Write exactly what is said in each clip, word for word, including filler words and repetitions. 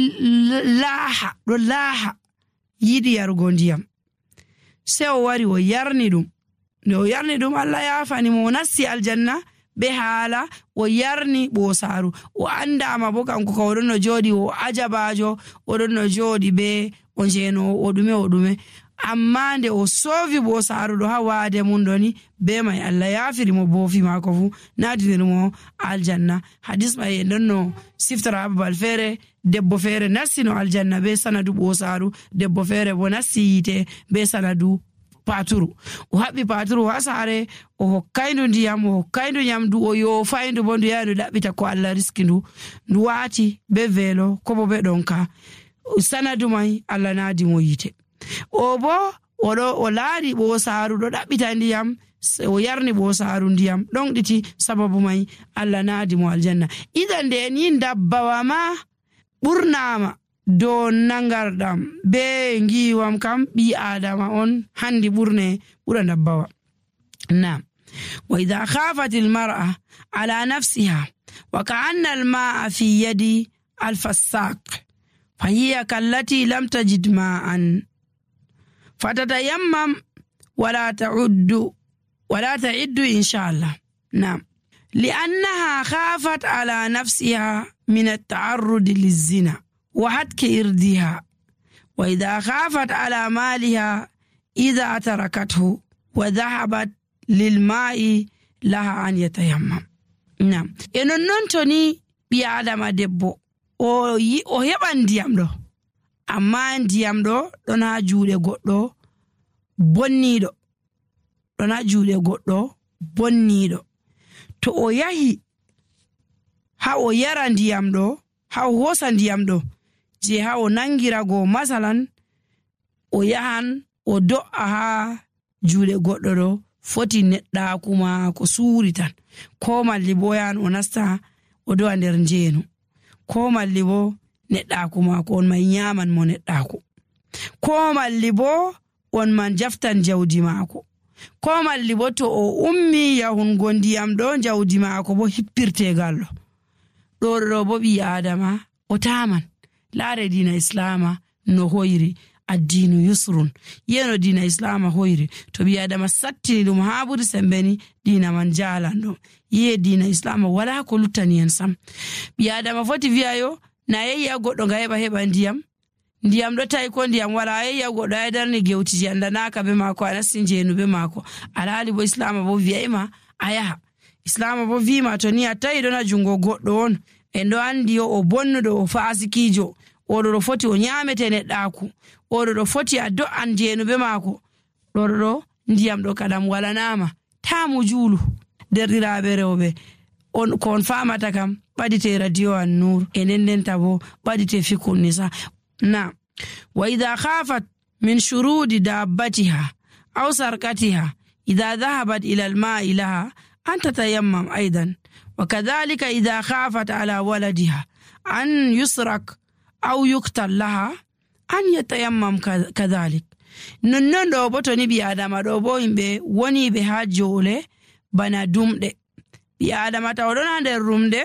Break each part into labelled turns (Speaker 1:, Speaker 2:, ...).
Speaker 1: laaha ɗo laaha yiɗi yarugo ndiyam, sey o wari o yarni ɗum. Nde o yarni ɗum, Allah yaafani mo, o nasti aljanna be haala o yarni ɓosaaru. O andama bo kanko ka oɗon no jooɗi o ajabajo, oɗon no jooɗi be o njeno o ɗume o ɗume. Amma nde o soofi ɓosaaru ɗo ha waade mum ɗoni, be mai Allah yaafiri mo boofi maako fu, natiniri mo aljanna. Hadis mai en ɗon no siftara babal feere, debbo feere nasti no aljanna be sanadu ɓosaaru, debbo feere bo nasti yite be sanadu paturu. O haɓɓi paturu ha saare, o hokkayndu ndiyam, o hokkayndu nyamdu, o yofayndu bo ndu yaha ndu ɗaɓɓita ko Allah riski ndu, ndu waati be veelo ko bo be ɗonka. Sanadu mai Allah naadi mo yite. O bo oɗo o laari ɓosaaru ɗo ɗaɓɓita ndiyam, o yarni ɓosaaru ndiyam ɗon ɗiti, sababu mai Allah naadi mo aljanna. Idan nde en yin dabbawa ma ɓurnama dow nangarɗam be ngiwam kam ɓi adama on handi ɓurne ɓura dabbawa. Naam. Wa idha khafat al-mar'a ala nafsiha wa ka'anna al-ma'a fi yadi al-fassaq fa hiya kallati lam tajid ma'an fatatayammam wala ta'uddu wala ta'iddu inshallah. Naam. لأنها خافت على نفسها من التعرض للزنا وحتك إردها، وإذا خافت على مالها إذا تركته وذهبت للماء لها أن يتيمم. نعم. إنه ننتني بيادم دبو o yi o heɓan ndiyam ɗo, amma ndiyam ɗo ɗon ha juuɗe goɗɗo bonniɗo, ɗon ha juuɗe goɗɗo bonniɗo. To o yahi ha o yara ndiyam ɗo, ha o hosa ndiyam ɗo je ha o nangirago, masalan o yahan o do'a ha juuɗe goɗɗo ɗo, foti neɗɗaku ma ko suuri tan, ko malli bo yahan o nasta o do'a nder njeenu, ko malli bo neɗɗaku ma ko on man nyaman mo neɗɗaku, ko malli bo on man jaftan jawdi maako, ko malli bo to o ummi yahungo ndiyam ɗo jawdi maako bo hippirtegal ɗo ɗo ɗo bo ɓi adama o taman. Laare dina islama no hoyri, addinu yusrun, yeno dina islama hoyri. To ɓi adama sattini ɗum ha ɓuri sembeni, dina man jalan ɗo. Yiye dina islama wala ko luttani en sam. Ɓi adama foti wi'ayo na yeyya goɗɗo nga heɓa heɓa ndiyam, ndiyam ɗo tawi ko ndiyam wala, yeyya goɗɗo ay darni gewtiji andanaka be maako, a nasti njeenu be maako. Alhaali bo islama bo wiyayma a yaha. Islama bo wima to ni a tawi ɗon ha jungo goɗɗo on, en ɗo andi yo o bonnuɗo, o fasikijo, oɗo ɗo foti o nyamete neɗɗaku, oɗo ɗo foti a do'an njeenu be maako, ɗo ɗo ndiyam ɗo kadam walanama, tamu juulu. Derɗiraɓe rewɓe, on ko on famata kam ɓadite radio an nur, e ndendenta bo ɓadite fikul nisa. Na wa idha khafat min shurudi dabbatiha aw sarqatiha idha dhahabat ila al-ma'i laha an tatayammam aidan, wa kadhalika idha khafat ala waladiha an yusrak aw yuktal laha an yatayammam kadhalik. Nonnon ɗo bo to ni ɓi adama ɗo bo yimɓe woni ɓe ha joole bana dumɗe. Ɓi adama taw ɗon ha nder rumde,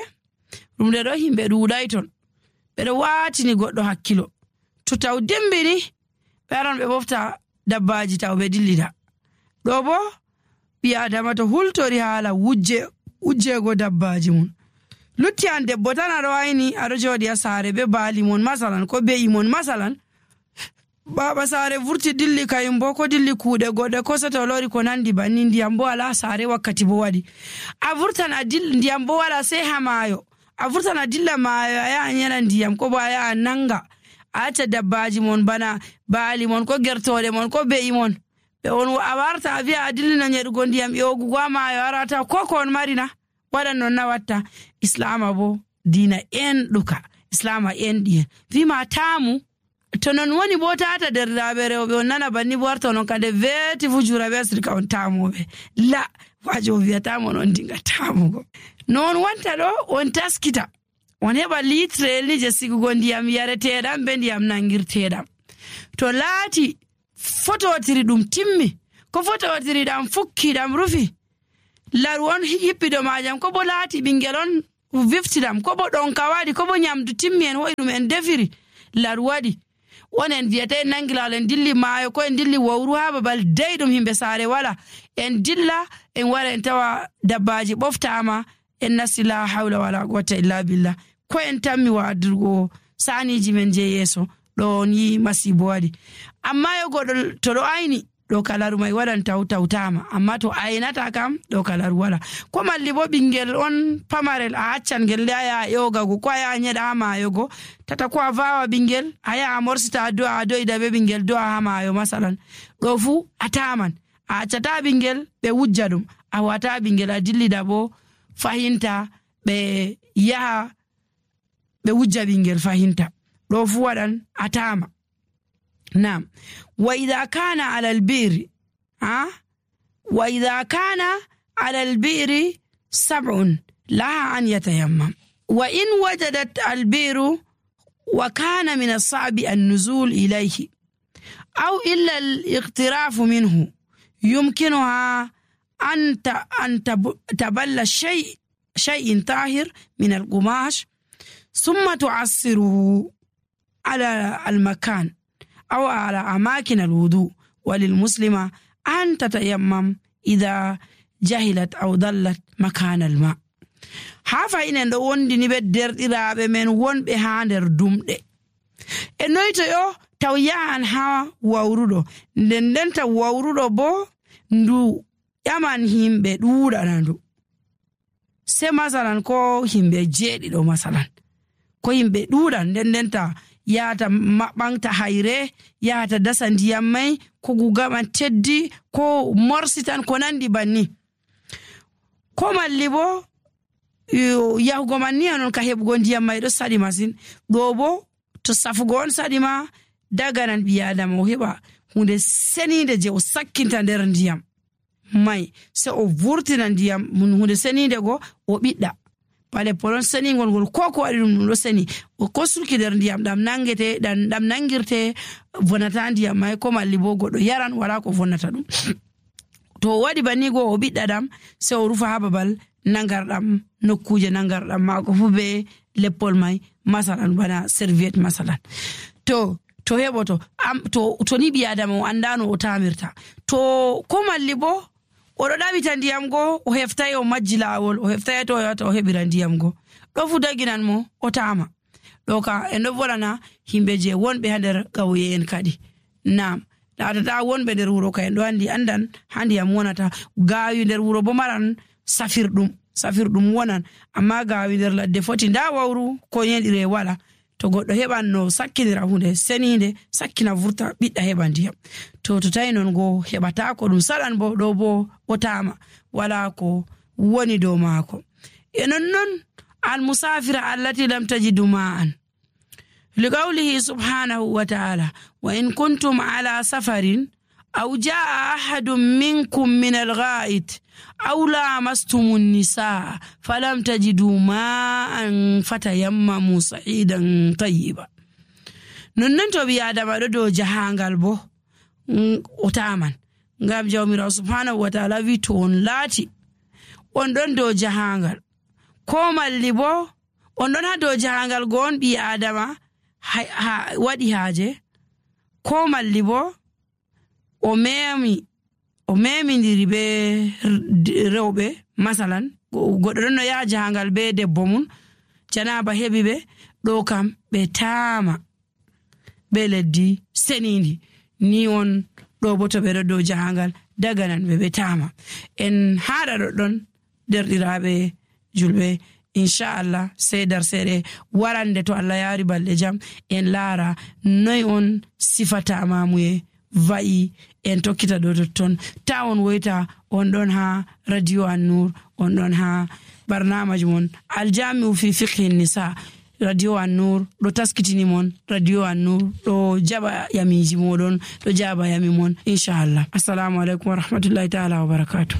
Speaker 1: rumde ɗo himɓe ɗuuɗay ton, ɓeɗo watini goɗɗo hakkilo. To taw dimbini ɓe aran ɓe ɓofta dabbaji taw ɓe dillida. Ɗo bo ɓi adama to hultori haala wujje wujjego dabbaji mun. Lutti an debbo tan aɗo wayni aɗo jooɗi ha saare be baali mon masalan, ko be'i mon masalan, baba saare vurti dilli kayum bo, ko dilli kuuɗe goɗɗe, ko soto lori ko nandi banni, ndiyam bo ala saare wakkati bo waɗi. A vurtan a dilla, ndiyam bo wala sai ha maayo, a vurtan a dilla maayo a yaha yana ndiyam, ko bo a yaha nanga a acca dabbaji mon bana baali mon, ko gertoɗe mon, ko be'i mon, ɓe on a warta a wiya a dillino nyeɗugo ndiyam ƴogugo ha maayo arata ko ko on marina waɗan non na watta. Islama bo dina en ɗuka, islama en ɗiyen wima tamu. To non woni bo tata derɗiraɓe rewɓe on nana banni bo warta non kade veti fu jura be asirka on tamoɓe, la wajo wiyatamo non dinga tamugo. Non wanta ɗo on taskita, on heɓa litre ni je sigugo ndiyam yareteɗam be ndiyam nangirteɗam. To laati fototiri ɗum timmi, ko fototiri ɗam fukki ɗam rufi, laru on yippido majam, ko bo laati ɓingel on viftidam, ko bo ɗon kawaɗi, ko bo nyamdu timmi en hoyi ɗum en defiri, laru waɗi on en wiyata en nangi lawol en dilli maayo ko en dilli wowru ha babal dayɗum himɓe saare wala en dilla en wara en tawa dabbaji ɓoftama en nasti la hawla wala quwwata illa billah ko en tammi wadirgo saniji men je yeso ɗo ni masibo waɗi amma yo goɗɗo to ɗo ayni ɗo kalaru mai waɗan taw tawtama amma to aynata kam ɗo kalaru wala ko malli bo ɓingel on pamarel a accan ngel nde aya yogago ko aya nyeɗa ha mayogo tata ko a vawa ɓingel aya a morsita do'a a do'ida be ɓingel do'a ha mayo masalan ɗo fu a taman a accata ɓingel ɓe wujja ɗum a wata ɓingel a dillida bo fahinta ɓe yaha ɓe wujja ɓingel fahinta ɗo fu waɗan a tama نعم وإذا كان على البئر ها وإذا كان على البئر سبع لها أن يتيمم وإن وجدت البئر وكان من الصعب النزول إليه أو إلا الاقتراف منه يمكنها أن أن تبل شيء شيء طاهر من القماش ثم تعصره على المكان أو على أماكن الوضوء وللمسلمة أن تتيمم إذا جهلت أو ضلت مكان الماء hafa inen ɗo wondini ɓe derɗiraɓe men wonɓe ha nder dumɗe e noyto yo taw yahan ha wawruɗo nden nden taw wawruɗo bo ndu ƴaman himɓe ɗuɗana ndu se masalan ko himɓe jeeɗiɗo masalan ko himɓe ɗuɗan nden nden ta yahata maɓɓanta hayre yahata dasa ndiyam mai ko gugaman teddi ko morsitan ko nandi banni ko malli bo yahugo man ni anon ka heɓugo ndiyam mai ɗo saɗi masin ɗo bo to safugo on saɗi ma daganan ɓi adama o heɓa hunde senide je o sakkinta nder ndiyam mai se o vurtina ndiyam hunde senide go o ɓiɗɗa bale polon senigol ngol ko ko waɗi ɗum ɗum ɗo seni o ko sulki nder ndiyam ɗam nangete ɗam nangirte vonata ndiyam mai ko malli bo goɗɗo yaran wala ko vonnata ɗum to o waɗi banni go o ɓiɗɗa ɗam se o rufa ha babal nangarɗam nokkuje nangarɗam mako fu be leppol mai masalan bana serviette masalan to to heɓoto to to ni ɓi adama o andano o tamirta to ko malli bo oɗo ɗaɓita ndiyam go o heftai o majji lawol o heftai to o yata o heɓira ndiyam go ɗo fu daginan mo o tama ɗo ka en ɗo volana himɓe je wonɓe ha nder ƙauye en kadi nam laatata wonɓe nder wuro ka en ɗo andi andan ha ndiyam wonata gawi nder wuro bo maran safirɗum safirɗum wonan amma gawi nder ladde foti nda wawru ko yeɗire wala to goɗɗo heɓan no sakkinira hunde senide sakkina vurta ɓiɗɗa heɓa ndiyam to to tawi non go heɓata ko ɗum saɗan bo ɗo bo o tama wala ko woni dow maako e nonnon almusafira allati lam tajidu ma'an liqawlihi subhanahu wa ta'ala wa in kuntum ala safarin aw jaa ahadun minkum min al-gha'it aw lamastumun nisaa falam tajidu ma'an fatayammamu sa'idan tayyiba nonnon to bi adama ɗo dow jahangal bo o taman ngam jawmirawo subhanahu wa ta'ala wi to on laati on ɗon dow jahangal ko malli bo on ɗon ha dow jahangal go on ɓi adama ha, ha waɗi haaje ko malli bo o memi o memidiri be rewɓe masalan goɗɗo ɗon no yaha jahangal be debbo mum janaba heɓi ɓe ɗo kam ɓe tama be leddi senidi ni on ɗo bo to ɓe ɗo dow jahangal daganan ɓe ɓe tama en haɗa ɗoɗɗon derɗiraɓe julɓe inchallah sey dar seeɗe warande to Allah yaari balɗe jam en laara noy on sifataamamuye va'i en tokkita ɗo totton ta on woyta on ɗon ha radio An-Nur on ɗon ha barnamaji mon aljami'u fi fiqhi nisa radio An-Nur ɗo taskitini mon radio An-Nur ɗo jaɓa yamiji moɗon ɗo jaɓa yami mon inchallah assalamu aleykum wa rahmatullahi ta'ala wa barakatuh